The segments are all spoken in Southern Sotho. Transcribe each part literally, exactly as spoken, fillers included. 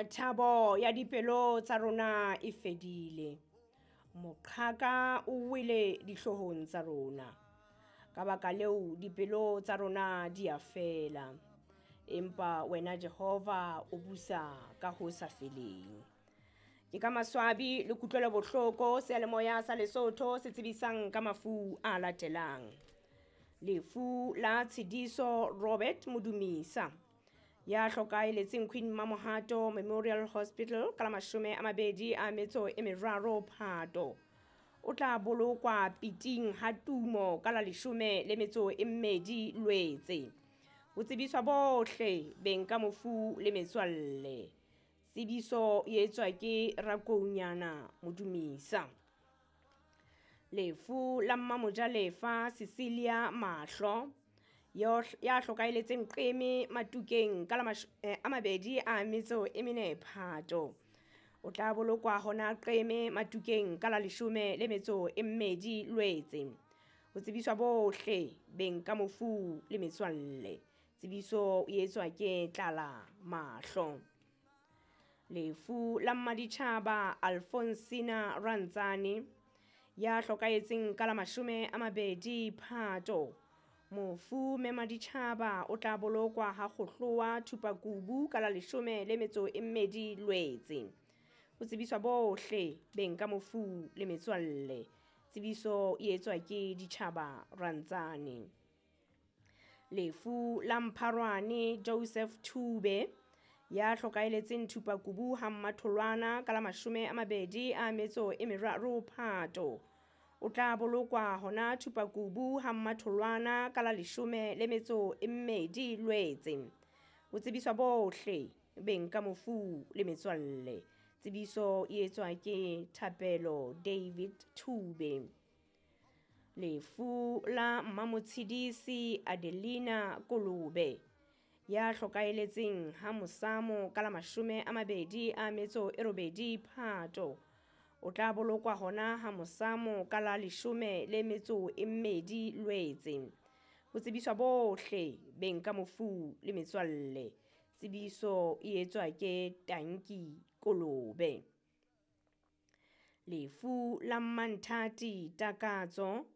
Thabo ya dipelo tsa rona e fedile. Moqhaka o wele dihloohong tsa rona. Ka baka leo dipelo tsa rona di a fela. Empa wena Jehova o busa ka ho sa feleng. Ke ka maswabi le kutlwelo bohloko seyalemoya sa Lesotho se tsebisang ka mafu a latelang. Lefu la Tshidiso Robert Modumisa ya hlokaheletseng Queen Mamohato Memorial Hospital ka la mashome a mabedi a metso e meraro Phato. O tla bolokwa Piting ha Tumo ka la leshome le metso e mmedi Lwetse. Ho tsebiswa bohle beng ka mofu le metswalle. Tsebiso e etswa ke Rakounyana Modumisa. Lefu la Mmamojalefa Cecilia Mahlo ya hlokaheletseng Qeme Matukeng ka la a mabedi a metso e mene Phato. O tla bolokwa hona Qeme Matukeng ka la leshome le metso e mmedi Lwetse. Ho tsebiswa bohle beng ka mofu le metswalle. Tsebiso e etswa ke Tlala Mahlo. Lefu la Mmaditjhaba Alfonsina Rantsane ya hlokahetseng ka la mashome a mabedi Phato. Mofu mme Maditjhaba o tla bolokwa ha Kgohloa Thupakubu ka la leshome le metso e mmedi Lwetse. Ho tsebiswa bohle beng ka mofu le metswalle. Tsebiso e etswa ke Ditjhaba Rantsane. Lefu la Mpharwane Joseph Thube ya hlokaheletseng Thupakubu ha Mmatholwana ka la mashome a mabedi a metso e meraro Phato. O tla bolokwa hona Thupakubu ha Mmatholwana ka la leshome le metso e mmedi Lwetse. Ho tsebiswa bohle beng ka mofu le metswalle. Tsebiso e etswa ke Thapelo David Thube. Lefu la Mmamotshidisi Adelina Kolobe ya hlokaheletseng ha Mosamo ka la mashome a mabedi a metso e robedi Phato. O tla bolokwa hona ha Mosamo ka la leshome le metso e mmedi Lwetse. Ho tsebiswa bohle beng ka mofu le metswalle. Tsebiso e etswa ke Tanki Kolobe. Lefu la Mmanthati Takatso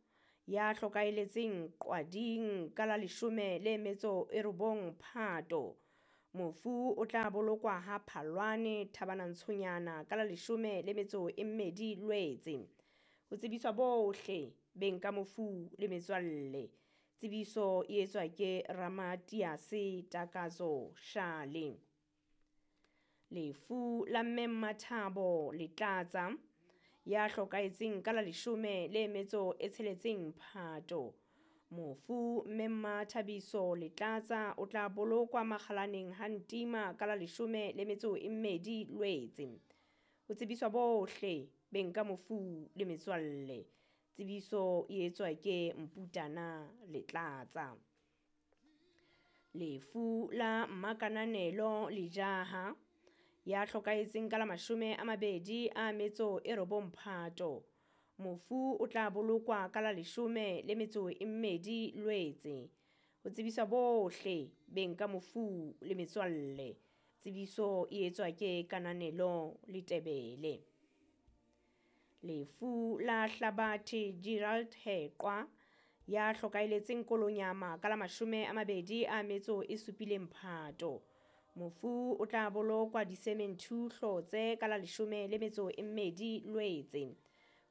ya hlokaheletseng Qwading ka la leshome le metso e robong Phato. Mofu o tla bolokwa ha Phalwane Thabanantshonyana ka la leshome le metso e mmedi Lwetse. Ho tsebiswa bohle beng ka mofu le metswalle. Tsebiso e etswa ke Ramatiase Takatso Shale. Lefu la Mme Mmathabo Letlatsa ya hlokahetseng ka la leshome le metso e tsheletseng Phato. Mofu Mme Mmathabiso Letlatsa o tla bolokwa Makgalaneng ha Ntima ka la leshome le metso e mmedi Lwetse. Ho tsebiswa bohle beng ka mofu le metswalle. Tsebiso e etswa ke Mputana Letlatsa. Lefu la Mmakananelo Lejaha ya hlokahetseng ka la mashome a mabedi a metso e robong Phato. Mofu o tla bolokwa ka la leshome le metso e mmedi Lwetse. Ho tsebiswa bohle beng ka mofu le metswalle. Tsebiso e etswa ke Kananelo Letebele. Lefu la Hlabathe Gerald Heqwa ya hlokaheletseng Kolonyama ka la mashome a mabedi a metso e supileng Phato. Mofu o tla bolokwa Disementhu Hlotse ka la leshome le metso e mmedi Lwetse.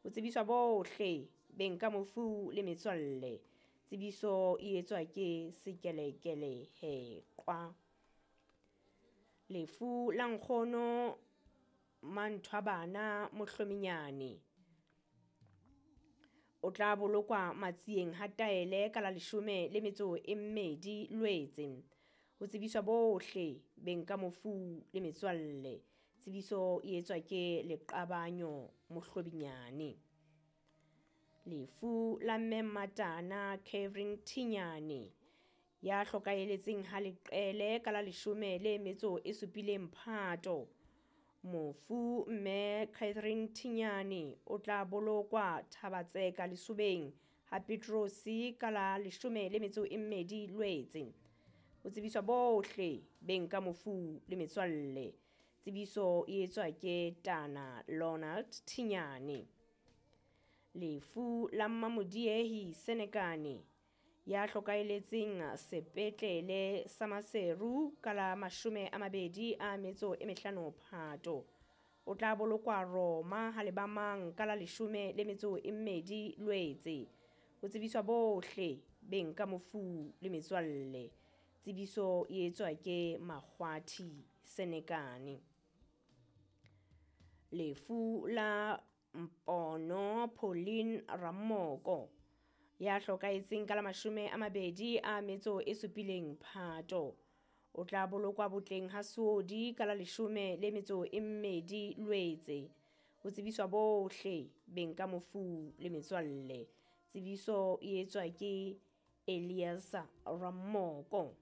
Ho tsebiswa bohle beng ka mofu le metswalle. Tsebiso e etswa ke Sekelekele Heqwa. Lefu la Nkgono Manthwabana Mohlominyane o tla bolokwa Matsieng ha Taele ka la leshome le metso e mmedi Lwetse. Ho tsebiswa bohle beng ka mofu le metswalle. Tsebiso e etswa ke Leqabanyo Mohlobinyane. Lefu la Mme Mmatana Catherine Thinyane ya hlokaheletseng ha Leqele ka la leshome le metso e supileng Phato. Mofu Mme Catherine Thinyane o tla bolokwa Thabatseka Lesobeng ha Petrosi ka la leshome le metso e mmedi Lwetse. Ho tsebiswa bohle beng ka mofu le metswalle. Tsebiso e etswa ke Tana Lonald Thinyane. Lefu la Mmamodiehi Senekane ya hlokaheletseng sepetlele sa Maseru ka la mashome a mabedi a metso e mehlano Phato. O tla bolokwa Roma ha lebamang ka la leshome le metso e mmedi Lwetse. Ho tsebiswa bohle beng ka mofu le metswalle. Tsebiso e etswa ke Makgwathi Senekane. Lefu la Mpono Pauline Ramoko ya hlokahetseng ka la mashome a mabedi a metso e supileng Phato. O tla bolokwa botleng ha Seodi ka la leshome le metso e mmedi Lwetse. Ho tsebiswa bohle beng ka mofu le metswalle. Tsebiso e etswa ke Elias Ramoko.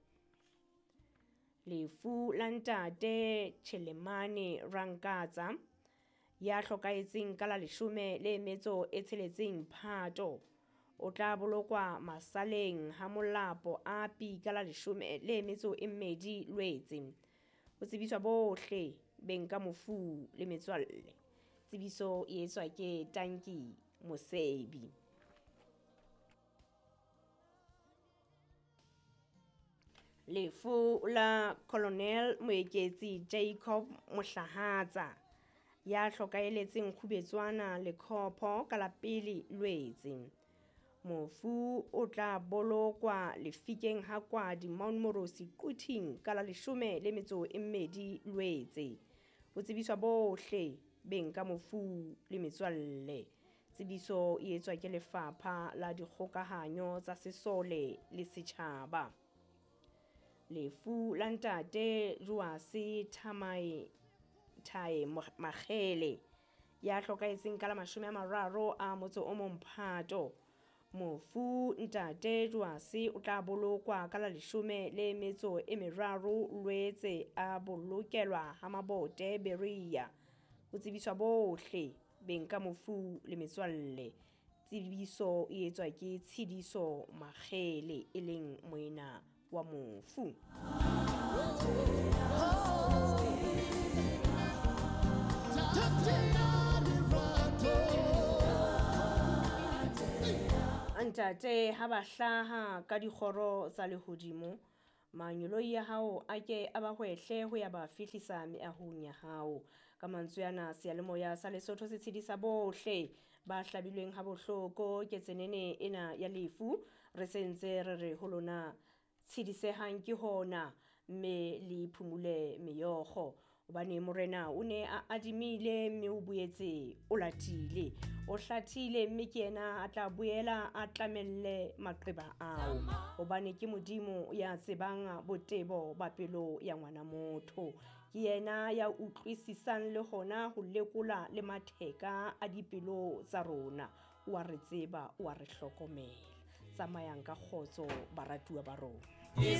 Lefu la ntate Chelemane Rankatsa ya hlokahetseng ka la leshome le metso e tsheletseng Phato. O tla bolokwa Masaleng ha Molapo Api ka la leshome le metso e mmedi Lwetse. Ho tsebiswa bohle beng ka mofu le metswalle. Tsebiso e etswa ke Tanki Mosebi. Lefu la Colonel Moeketsi Jacob Mohlahatsa ya hlokahelletseng Kgubetswana Lekhopho ka la pele Lwetse. Mofu o tla bolokwa lefikeng ha Kwadi Mount Morosi Quthing ka la leshome le metso e mmedi Lwetse. Ho tsebiswa bohle beng ka mofu le metswalle. Tsebiso e etswa ke Lefapha la Dikgokahanyo tsa Sesole le Setjhaba. Lefu la ntate Joase Thamae Thae Makgele ya hlokahetseng ka la mashome a mararo a motso o mong Phato. Mofu ntate Joase o tla bolokwa ka la leshome le metso e meraro Lwetse a bolokelwa ha Mabote Berea. Ho tsebiswa bohle beng ka mofu le metswalle. Tsebiso e etswa ke Tshidiso Makgele e leng moena wa mofu. Ntate ha ba hlaha ka dikgoro tsa lehodimo, manyoloi ya hao a ke a ba hwehle ho ya ba fihlisa meahong ya hao. Ka mantswe ana, seyalemoya sa Lesotho se tshedisa bohle ba hlabilweng ha bohloko ke tsenene ena ya lefu. Re sentse re re ho lona tshedisehang ke hona mme le phumule meokgo, hobane morena o ne a adimile mme o boetse o latile, o hlathile mme ke yena a tla boela a tlamelle maqeba ao, hobane ke Modimo ya tsebang botebo ba pelo ya ngwana motho. Ke yena ya utlwisisang le hona ho lekola le matheka a dipelo tsa rona. O a re tseba, o a re hlokomela. Tsamayang ka kgotso baratuwa ba rona.